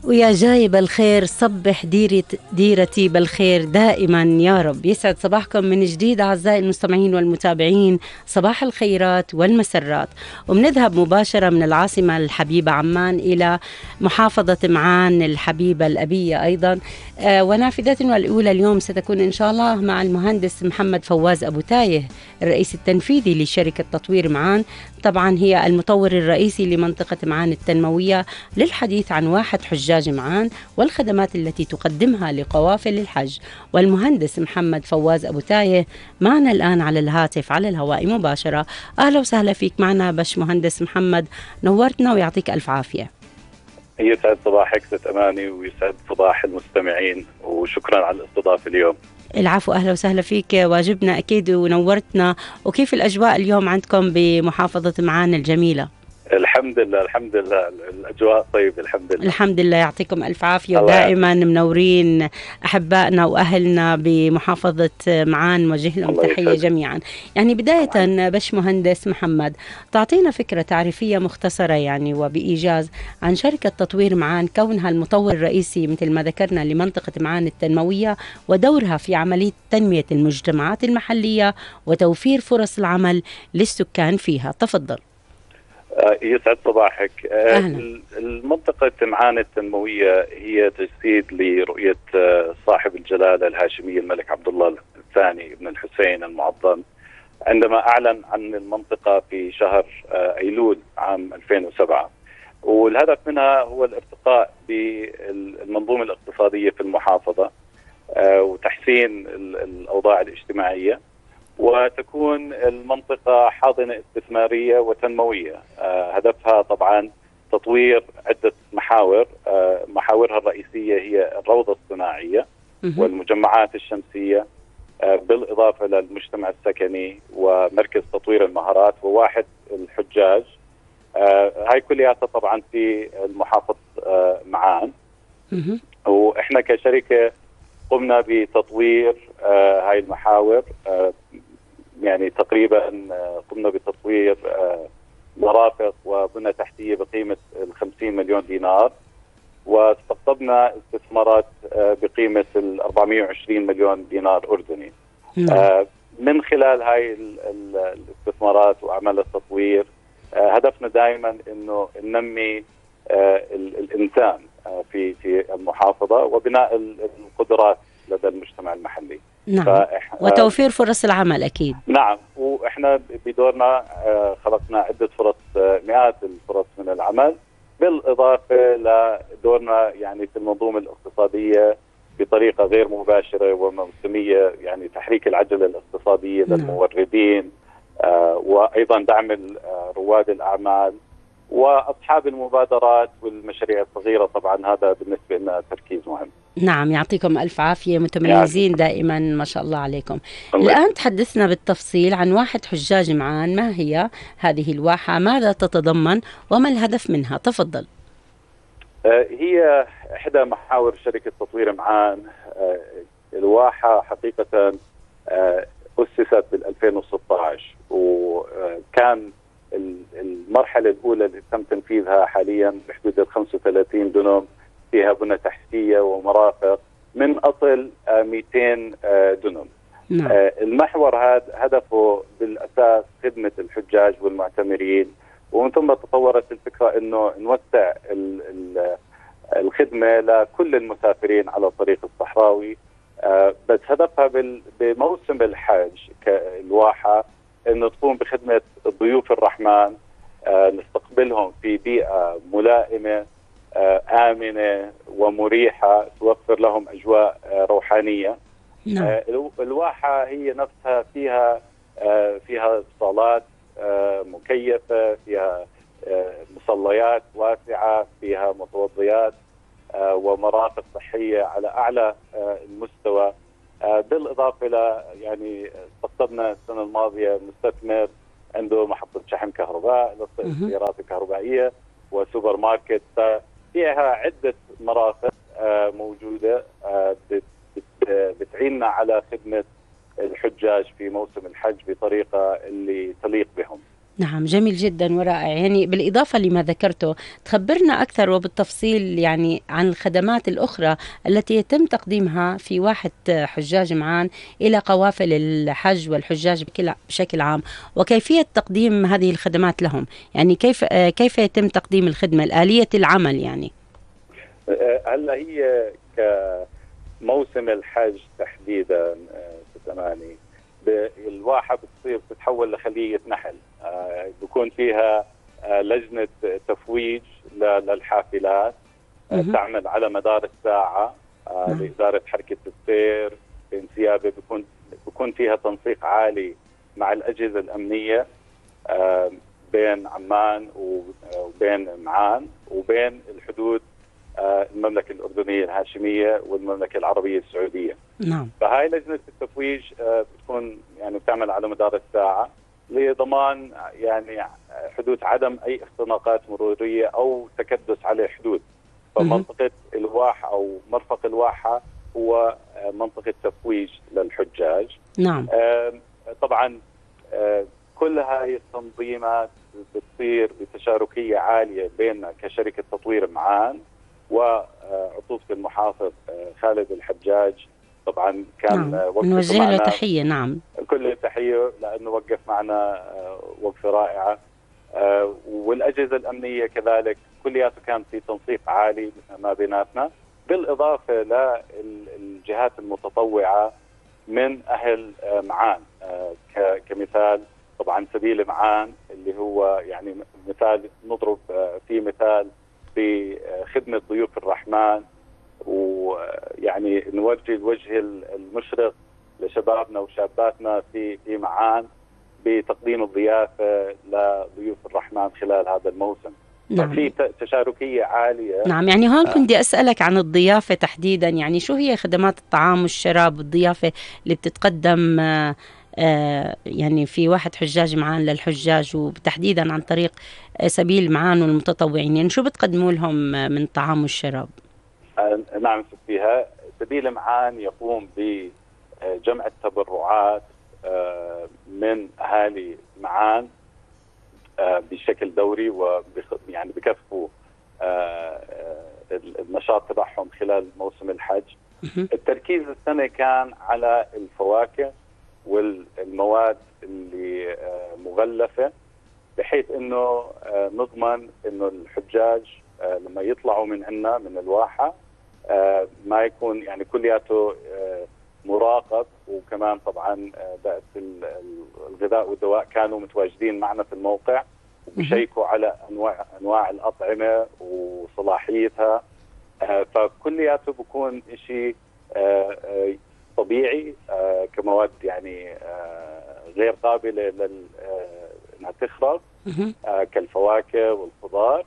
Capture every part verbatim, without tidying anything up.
ويا جاي بالخير صبح ديرة ديرتي بالخير دائما يا رب. يسعد صباحكم من جديد أعزائي المستمعين والمتابعين، صباح الخيرات والمسرات. وبنذهب مباشرة من العاصمة الحبيبة عمان إلى محافظة معان الحبيبة الأبية أيضا. آه ونافذتنا الأولى اليوم ستكون إن شاء الله مع المهندس محمد فواز أبو تايه، الرئيس التنفيذي لشركة تطوير معان، طبعا هي المطور الرئيسي لمنطقة معان التنموية، للحديث عن واحد حجاج معان والخدمات التي تقدمها لقوافل الحج. والمهندس محمد فواز أبو تايه معنا الآن على الهاتف على الهواء مباشرة. أهلا وسهلا فيك معنا باش مهندس محمد، نورتنا ويعطيك ألف عافية. يسعد صباحك ست أماني ويسعد صباح المستمعين، وشكرا على الاستضافة اليوم. العفو، أهلا وسهلا فيك، واجبنا أكيد ونورتنا. وكيف الأجواء اليوم عندكم بمحافظة معان الجميلة؟ الحمد لله الحمد لله الأجواء طيب الحمد لله. الحمد لله، يعطيكم ألف عافية، ودائما منورين أحبائنا وأهلنا بمحافظة معان، وجه لهم تحية جميعا. يعني بداية باش مهندس محمد، تعطينا فكرة تعريفية مختصرة يعني وبإيجاز عن شركة تطوير معان، كونها المطور الرئيسي مثل ما ذكرنا لمنطقة معان التنموية، ودورها في عملية تنمية المجتمعات المحلية وتوفير فرص العمل للسكان فيها. تفضل. يسعد صباحك. أهلا. المنطقة معان التنموية هي تجسيد لرؤية صاحب الجلالة الهاشمية الملك عبد الله الثاني بن الحسين المعظم، عندما أعلن عن المنطقة في شهر أيلول عام ألفين وسبعة، والهدف منها هو الارتقاء بالمنظومة الاقتصادية في المحافظة وتحسين الأوضاع الاجتماعية، وتكون المنطقة حاضنة استثمارية وتنموية. آه هدفها طبعا تطوير عدة محاور. آه محاورها الرئيسية هي الروضة الصناعية والمجمعات الشمسية، آه بالإضافة للمجتمع السكني ومركز تطوير المهارات وواحد الحجاج. آه هاي كلها طبعا في المحافظة آه معان. وإحنا كشركة قمنا بتطوير آه هاي المحاور. آه يعني تقريبا قمنا بتطوير مرافق وبنى تحتية بقيمة الخمسين مليون دينار، واستقطبنا استثمارات بقيمة الأربعمائة وعشرين مليون دينار أردني. نعم. من خلال هاي الاستثمارات وأعمال التطوير هدفنا دائما أنه ننمي الإنسان في في المحافظة وبناء القدرات لدى المجتمع المحلي. نعم. وتوفير فرص العمل أكيد. نعم، وإحنا بدورنا خلقنا عدة فرص، مئات الفرص من العمل، بالإضافة لدورنا يعني في المنظومة الاقتصادية بطريقة غير مباشرة وموسمية، يعني تحريك العجلة الاقتصادية للموردين، وأيضا دعم رواد الأعمال وأصحاب المبادرات والمشاريع الصغيرة. طبعا هذا بالنسبة لنا تركيز مهم. نعم، يعطيكم ألف عافية، متميزين دائما ما شاء الله عليكم. الآن تحدثنا بالتفصيل عن واحد حجاج معان، ما هي هذه الواحة، ماذا تتضمن وما الهدف منها؟ تفضل. هي إحدى محاور شركة تطوير معان. الواحة حقيقة أسست بال ألفين وستة عشر، وكان المرحلة الأولى اللي تم تنفيذها حاليا بحدود ال خمسة وثلاثين دنم، فيها بنى تحتية ومرافق من أصل مئتين دنم. نعم. المحور هذا هدفه بالأساس خدمة الحجاج والمعتمرين، ومن ثم تطورت الفكرة أنه نوسع الخدمة لكل المسافرين على الطريق الصحراوي. بس هدفها بموسم الحج كالواحة أنه تقوم بخدمة ضيوف الرحمن، نستقبلهم في بيئة ملائمة آمنة ومريحة توفر لهم أجواء روحانية. نعم. الواحة هي نفسها فيها فيها صالات مكيفة، فيها مصليات واسعة، فيها متوضيات ومرافق صحية على أعلى المستوى. بالإضافة إلى يعني استقطبنا السنة الماضية مستثمر عنده محطة شحن كهرباء للسيارات الكهربائية وسوبر ماركت، فيها عدة مرافق موجودة بتعيننا على خدمة الحجاج في موسم الحج بطريقة اللي تليق بهم. نعم، جميل جدا ورائع. يعني بالإضافة لما ذكرته، تخبرنا أكثر وبالتفصيل يعني عن الخدمات الأخرى التي يتم تقديمها في واحة حجاج معان إلى قوافل الحج والحجاج بكل- بشكل عام، وكيفية تقديم هذه الخدمات لهم. يعني كيف آه، كيف يتم تقديم الخدمة، الآلية العمل يعني. آه، هلا هي كموسم الحج تحديدا ثمانية الواحة بتصير تتحول لخلية نحل، آه، بيكون فيها آه، لجنة تفويج ل- للحافلات، آه، مهم. تعمل على مدار الساعة آه، نعم. لإدارة حركة السير بانسيابه. بيكون بيكون فيها تنسيق عالي مع الأجهزة الأمنية آه، بين عمان وبين معان وبين الحدود آه، المملكة الأردنية الهاشمية والمملكة العربية السعودية. نعم. فهاي لجنة التفويج آه، بتكون يعني بتعمل على مدار الساعة لضمان يعني حدوث عدم أي اختناقات مرورية أو تكدس على الحدود. فمنطقة الواحة أو مرفق الواحة هو آه، منطقة تفويج للحجاج. نعم. آه، طبعا آه، كل هاي التنظيمات بتصير بتشاركية عالية بيننا كشركة تطوير معان وعطوفة المحافظ آه، خالد الحجاج. طبعا كان نعم. وقفته نوجه له معنا تحية. نعم. كل التحية لأنه وقف معنا آه، وقفة رائعة، آه، والأجهزة الأمنية كذلك كلياته كان في تنسيق عالي ما بيناتنا، بالإضافة للجهات المتطوعة من أهل آه، معان. آه، ك- كمثال طبعا سبيل معان اللي هو يعني مثال نضرب آه، فيه مثال بخدمة ضيوف الرحمن، ويعني نوجه الوجه المشرق لشبابنا وشاباتنا في في معان بتقديم الضيافة لضيوف الرحمن خلال هذا الموسم. نعم. ففي ت- تشاركية عالية. نعم. يعني هون كنت بدي أسألك عن الضيافة تحديدا. يعني شو هي خدمات الطعام والشراب والضيافة اللي بتتقدم آه، آه، يعني في واحد حجاج معان للحجاج، وتحديدا عن طريق آه، سبيل معان والمتطوعين؟ يعني شو بتقدموا لهم آه، من طعام والشراب؟ آه، نعم فيها سبيل معان يقوم بجمع التبرعات آه، من أهالي معان آه، بشكل دوري، ويعني بكفوا آه، آه، النشاط تبعهم خلال موسم الحج. مهم. التركيز السنة كان على الفواكه والمواد اللي آه، مغلفة، بحيث انه آه، نضمن انه الحجاج آه، لما يطلعوا من عنا من الواحة آه، ما يكون يعني كلياته آه، مراقب. وكمان طبعا آه، بأس ال- ال- الغذاء والدواء كانوا متواجدين معنا في الموقع وبيشيكوا على انواع انواع الاطعمه وصلاحيتها. آه، فكلياته بكون شيء آه، آه، طبيعي آه، كمواد يعني آه، غير قابله لل آه، انها تخرب، مهم. آه، كالفواكه والخضار،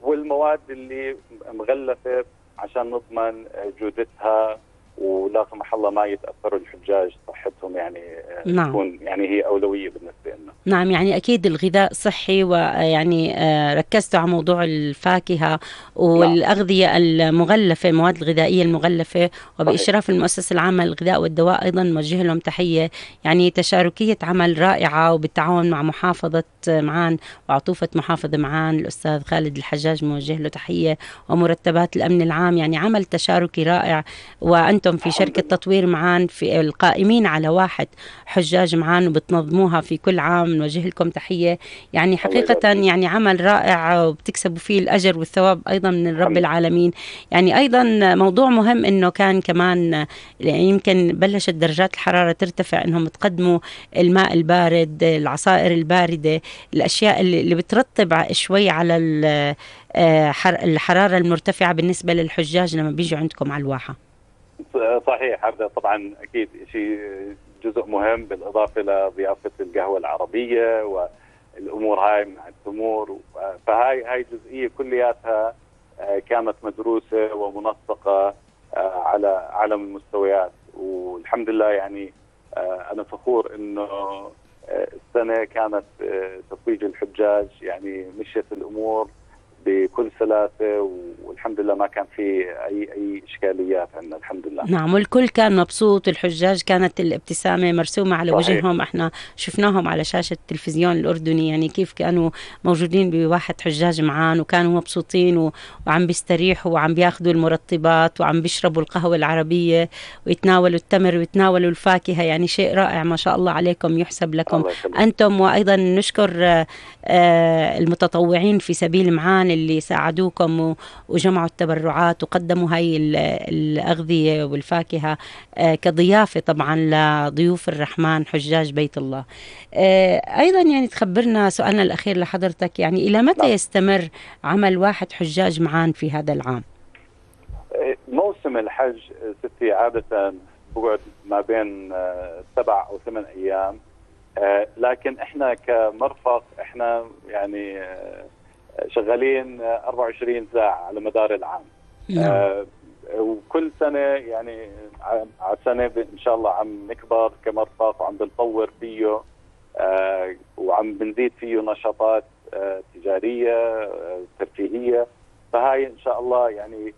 والمواد اللي مغلفه عشان نضمن آه، جودتها ولا سمح الله ما يتاثروا الحجاج صحتهم، يعني آه، نعم. تكون يعني هي اولويه بالنسبه لنا. نعم. يعني أكيد الغذاء صحي، ويعني آه، ركزتوا على موضوع الفاكهة نعم والأغذية المغلفة، المواد الغذائية المغلفة، صحيح. وبإشراف المؤسسة العامة للغذاء والدواء أيضا نوجه لهم تحية. يعني تشاركية عمل رائعة، وبالتعاون مع محافظة معان وعطوفة محافظة معان الأستاذ خالد الحجاج موجه له تحية، ومرتبات الأمن العام. يعني عمل تشاركي رائع، وأنتم في الحمد شركة لله. تطوير معان في القائمين على واحد حجاج معان وبتنظموها في كل عام، نوجه لكم تحية. يعني الله حقيقة يبارك فيك. يعني عمل رائع، وبتكسبوا فيه الأجر والثواب أيضا من رب الحمد لله. العالمين. يعني أيضا موضوع مهم إنه كان كمان يمكن بلشت درجات الحرارة ترتفع، إنهم تقدموا الماء البارد، العصائر الباردة، الأشياء اللي اللي بترطب شوي على ال- آه، حر- الحرارة المرتفعة بالنسبة للحجاج لما بيجوا عندكم على الواحة. صحيح، هذا طبعا اكيد شيء جزء مهم، بالاضافه لضيافه القهوه العربيه والامور هاي مع التمور. فهاي هاي جزئيه كلياتها آه، كانت مدروسه ومنسقه آه، على اعلى المستويات، والحمد لله. يعني آه، انا فخور انه آه، السنه كانت آه، تتويج الحجاج يعني مشيت الامور بكل سلاسه، والحمد الحمد لله ما كان في اي اي اشكاليات عندنا الحمد لله. نعم، والكل كان مبسوط، الحجاج كانت الابتسامة مرسومة على صحيح. وجههم، احنا شفناهم على شاشة التلفزيون الأردني، يعني كيف كانوا موجودين بواحد حجاج معان وكانوا مبسوطين و... وعم بيستريحوا وعم بياخدوا المرطبات وعم بيشربوا القهوة العربية ويتناولوا التمر ويتناولوا الفاكهة، يعني شيء رائع ما شاء الله عليكم، يحسب لكم أنتم. وأيضا نشكر المتطوعين في سبيل معان اللي ساعدوكم وجمعوا التبرعات وقدموا هاي الأغذية والفاكهة كضيافة طبعا لضيوف الرحمن حجاج بيت الله. أيضا يعني تخبرنا سؤالنا الأخير لحضرتك، يعني إلى متى يستمر عمل واحد حجاج معان في هذا العام؟ موسم الحج ستي عادة بقعد ما بين سبع أو ثمان أيام، لكن إحنا كمرفق إحنا يعني شغالين أربعة وعشرين ساعة على مدار العام. نعم. وكل سنة يعني على سنة إن شاء الله عم نكبر كمرفق وعم بنطور فيه وعم بنزيد فيه نشاطات تجارية ترفيهية، فهاي إن شاء الله يعني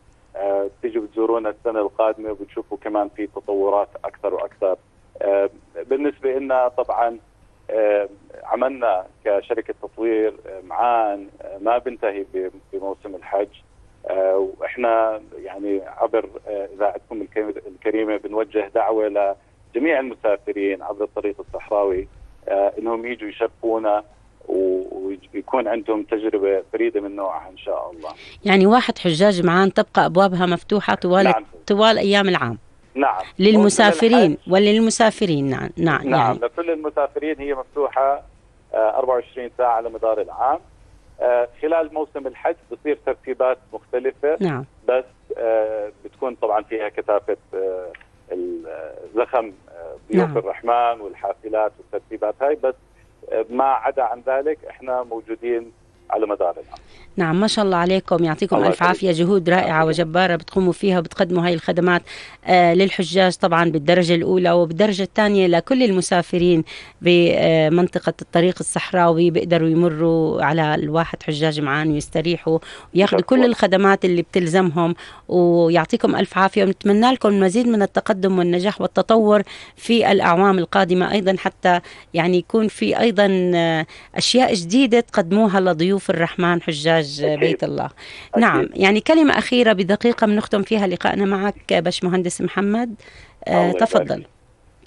تيجوا بتزورونا السنة القادمة وبتشوفوا كمان في تطورات أكثر وأكثر. بالنسبة لنا طبعا عملنا كشركة تطوير معان ما بنتهي بموسم الحج، وإحنا يعني عبر إذاعتكم الكريمة بنوجه دعوة لجميع المسافرين عبر الطريق الصحراوي إنهم يجوا يشرفونا ويكون عندهم تجربة فريدة من نوعها إن شاء الله. يعني واحد حجاج معان تبقى أبوابها مفتوحة طوال نعم. طوال أيام العام. نعم. للمسافرين وللمسافرين نعم نعم نعم يعني. لكل المسافرين هي مفتوحة أربعة وعشرين ساعة على مدار العام. خلال موسم الحج بتصير ترتيبات مختلفة. نعم. بس بتكون طبعا فيها كثافة الزخم ضيوف نعم. الرحمن والحافلات والترتيبات هاي، بس ما عدا عن ذلك احنا موجودين على مدار العام. نعم ما شاء الله عليكم، يعطيكم ألف عافية، جهود رائعة وجبارة بتقوموا فيها وبتقدموا هاي الخدمات آه للحجاج طبعا بالدرجة الأولى، وبالدرجة الثانية لكل المسافرين بمنطقة الطريق الصحراوي بيقدروا يمروا على الواحد حجاج معان ويستريحوا وياخذوا كل الخدمات اللي بتلزمهم. ويعطيكم ألف عافية، ونتمنى لكم المزيد من التقدم والنجاح والتطور في الأعوام القادمة أيضا، حتى يعني يكون في أيضا أشياء جديدة تقدموها لضيوف الرحمن حجاج بيت الله. أكيد. نعم يعني كلمة أخيرة بدقيقة بنختم فيها لقائنا معك باشمهندس محمد. آه تفضل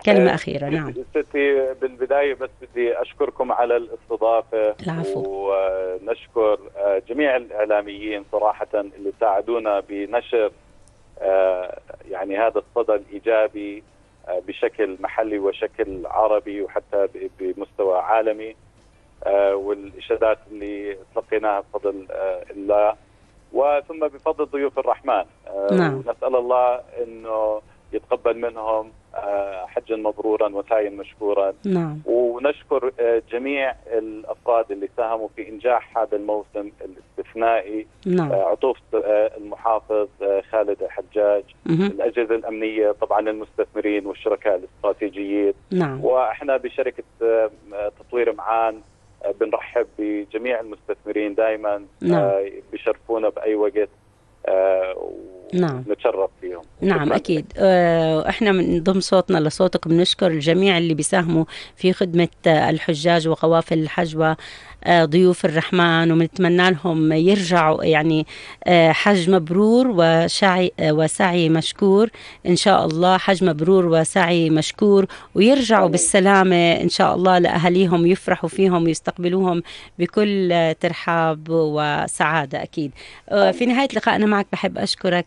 كلمة آه أخيرة. نعم ستي بالبداية بس بدي أشكركم على الاستضافة. العفو. ونشكر آه جميع الإعلاميين صراحة اللي ساعدونا بنشر آه يعني هذا الصدى الإيجابي آه بشكل محلي وشكل عربي وحتى بمستوى عالمي. آه والإشادات اللي تلقيناها بفضل آه الله وثم بفضل ضيوف الرحمن. آه نعم. ونسأل الله أنه يتقبل منهم آه حجا مبرورا وسعيا مشكورا. نعم. ونشكر آه جميع الأفراد اللي ساهموا في إنجاح هذا الموسم الاستثنائي. نعم. آه عطوف آه المحافظ آه خالد حجاج، مه. الأجهزة الأمنية، طبعا المستثمرين والشركاء الاستراتيجيين. نعم. وإحنا بشركة آه تطوير معان بنرحب بجميع المستثمرين دائما. نعم. آه بيشرفونا بأي وقت آه نعم. نتشرف فيهم. نعم أكيد. آه إحنا من ضمن صوتنا لصوتك بنشكر الجميع اللي بيساهموا في خدمة الحجاج وقوافل الحج وضيوف الرحمن، وبنتمنى لهم يرجعوا يعني آه حج مبرور وسعي آه وسعي مشكور إن شاء الله، حج مبرور وسعي مشكور، ويرجعوا أمين. بالسلامة إن شاء الله لأهاليهم، يفرحوا فيهم ويستقبلوهم بكل ترحاب وسعادة أكيد. آه في نهاية لقائنا معك بحب أشكرك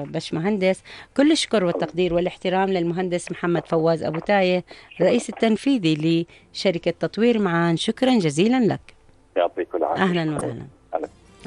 باشمهندس، كل الشكر والتقدير والاحترام للمهندس محمد فواز أبو تايه الرئيس التنفيذي لشركة تطوير معان. شكرا جزيلا لك. يعطيك العافية. أهلا وسهلا.